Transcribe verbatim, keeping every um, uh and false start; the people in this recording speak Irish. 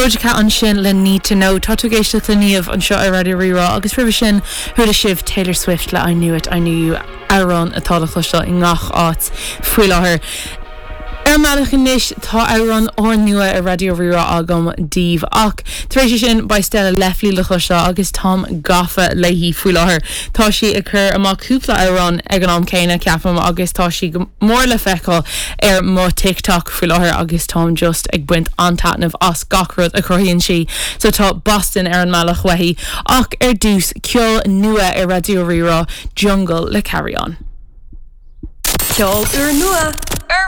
Doja Cat ansin le Need to Know tá tú ag éisteacht le Niamh anseo ar Raidió Rí-Rá agus roimhe sin chuala sibh Taylor Swift le I Knew It I Knew You amhrán atá le cloisteáil i ngach áit faoi láthair. Ar mbealach anois tá amhrán úrnua ar Raidió Rí-Rá agam daoibh ach tar éis sin beidh Stella Lefley le cloisteáil agus táim gafa léi faoi láthair. Tá sí ag cur amach cúpla amhrán ag an am céanna ceapaim agus tá sí go mór le feiceáil ar mo TikTok faoi láthair agus táim just ag baint an-taitneamh as gach rud a chruthaíonn sí, so tá Boston ar an mbealach uaithi ach ar dtús ceol nua ar Raidió Rí-Rá Jungle le Carry On. Ceol úrnua ar